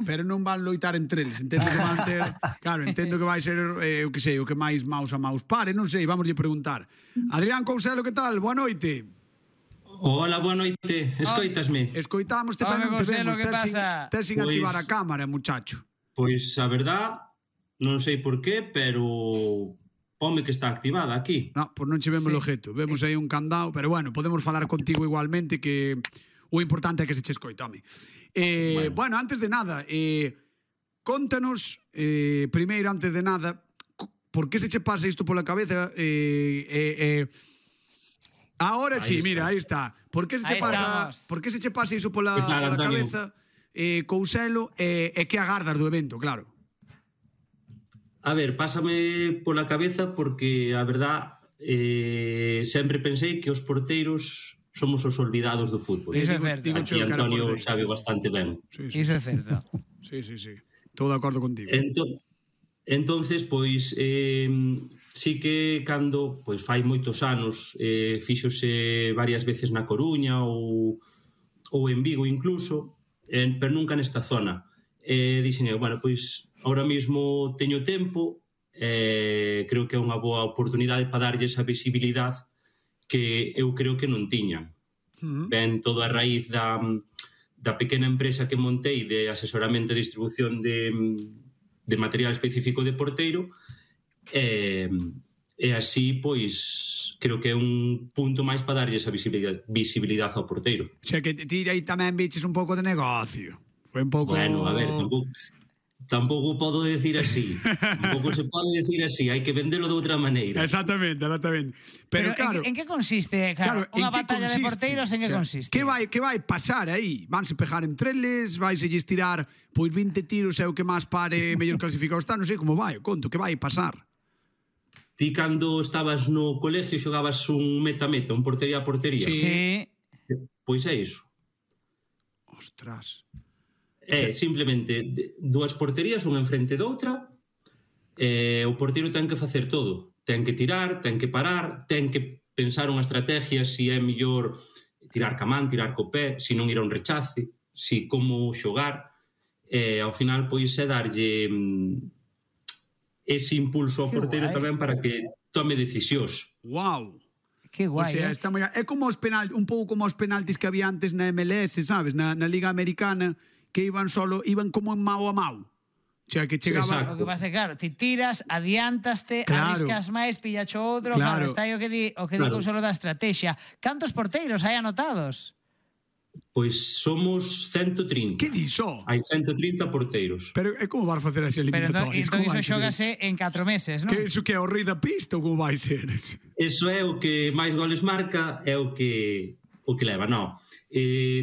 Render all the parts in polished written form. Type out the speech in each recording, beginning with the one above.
pero non van loitar entre eles. Entendo que van ter, claro, entendo que vai ser o que sei, o que máis maus a maus pare, non sei, vamos lle preguntar. Adrián Couselo, que tal? Boa noite. Hola, boa noite. Escoitasme? Escoitámoste, pero non te vemos. Que pasa? Tes sin activar a cámara, muchacho. Pois a verdad, non sei por qué, pero pome que está activada aquí. No, pois non che vemos o objeto. Vemos aí un candado, pero bueno, podemos falar contigo igualmente, que o importante é que se che escoita, home. Bueno, antes de nada, contanos, primeiro, antes de nada, por que se che pasa isto pola cabeza? Ahora sí, mira, aí está. Por que se che pasa iso pola cabeza, Couselo, e que agardas do evento, claro? A ver, pásame pola cabeza porque, a verdad, sempre pensei que os porteiros somos os olvidados do fútbol. Iso é certo. Aquí Antonio sabe bastante ben. Iso é certo. Sí. Estou de acordo contigo. Entonces, pois, sí que cando, pois, fai moitos anos, fíxose varias veces na Coruña ou en Vigo incluso, pero nunca nesta zona. Dixen, bueno, pois, ahora mesmo teño tempo, creo que é unha boa oportunidade para darlle esa visibilidade que eu creo que non tiñan. Ben, todo a raíz da pequena empresa que montei de asesoramento e distribución de material específico de porteiro, e así, pois, creo que é un punto máis para darlle esa visibilidade ao porteiro. O sea, que ti aí tamén viches un pouco de negocio. Foi un pouco... Bueno, a ver, tampouco podo decir así. Tampouco se pode decir así, hai que vendelo de outra maneira. Exactamente. Pero claro, en que consiste, claro, unha batalla de porteiros, en que consiste? Que vai pasar aí? Vanse pegar entre eles, vaise lles tirar pois 20 tiros e o que máis pare mellor clasificado está, non sei como vai, conto, que vai pasar? Ti cando estabas no colegio xogabas un meta-meta, un portería a portería. Sí. Pois é iso. Ostras. Simplemente dúas porterías, unha enfrente doutra, o porteiro ten que facer todo. Ten que tirar, ten que parar, ten que pensar unha estrategia, se é mellor tirar ca man, tirar co pé, se non ir a un rechace, se como xogar. Ao final, pois, é darlle ese impulso ao porteiro tamén para que tome decisións. Wow. Que guai, o sea, está moi... É como os penaltis, un pouco como os penaltis que había antes na MLS, sabes? Na Liga Americana, que iban como en mao a mao. O sea, que chegaba... O que pasa, claro, ti tiras, adiantaste, arriscas máis, pillacho outro, claro, está aí o que di solo da estrategia. Cantos porteiros hai anotados? Pois somos 130. Que diso? Hai 130 porteiros. Pero é como vas facer as eliminatorias? Pero entón iso xógase en 4 meses, non? Que iso que é o rei da pista ou como vai ser? Eso é o que máis goles marca, é o que leva, non.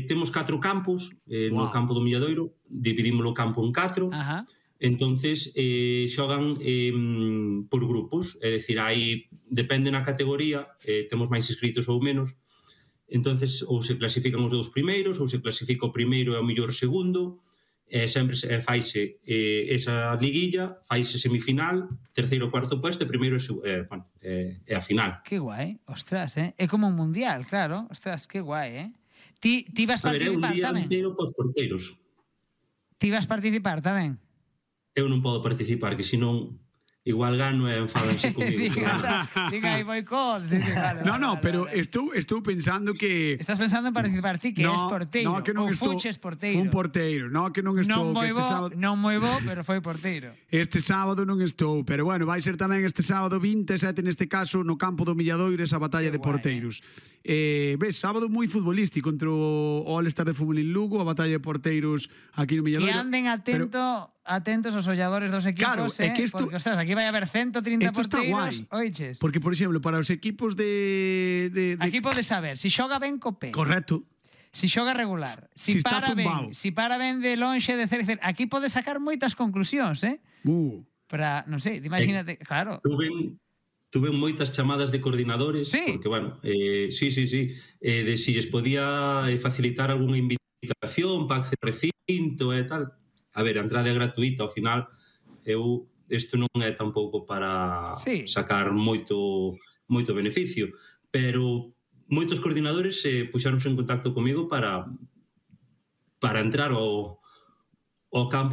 Temos 4 campos no campo do Milladoiro, dividimos o campo en 4. Entonces xogan por grupos, é dicir, depende na categoría, temos máis inscritos ou menos. Entonces, ou se clasifican os dous primeiros, ou se clasifica o primeiro e o mellor segundo, sempre faise esa liguilla, faise semifinal, terceiro ou cuarto puesto, e primeiro é a final. Que guai, ostras, é como un mundial, claro, ostras, que guai, Ti vas participar tamén? A ver, é un día inteiro pos porteiros. Ti vas participar tamén? Eu non podo participar, que senón igual gano e enfadanse comigo. Diga aí boicot. No, pero estou pensando que... Estás pensando en participar ti, que és porteiro. No, que non estou... Fuches porteiro. Fun porteiro, no, que non estou... Non moi bo, pero foi porteiro. Este sábado non estou, pero bueno, vai ser tamén este sábado 27, neste caso, no campo do Milladoiro, esa batalla de porteiros. Ves, sábado moi futbolístico, contra o All-Star de Fútbol en Lugo, a batalla de porteiros aquí no Milladoiro. Que anden atentos os olladores dos equipos, claro, é que esto, porque, ostras, aquí vai haber 130 porteiros, oiches. Porque, por exemplo, para os equipos de... Aquí podes saber, se xoga ben co pé. Correcto. Si xoga regular, si para ben de lonxe de cer, aquí podes sacar moitas conclusións, para, non sei, imagínate, claro. Tuve moitas chamadas de coordinadores, porque, bueno, sí, de si les podía facilitar algunha invitación para acceder ao recinto e tal. A ver, a entrada é gratuita, ao final, isto non é tampouco para sacar moito beneficio, pero moitos coordinadores puxáronse en contacto comigo para entrar ao campo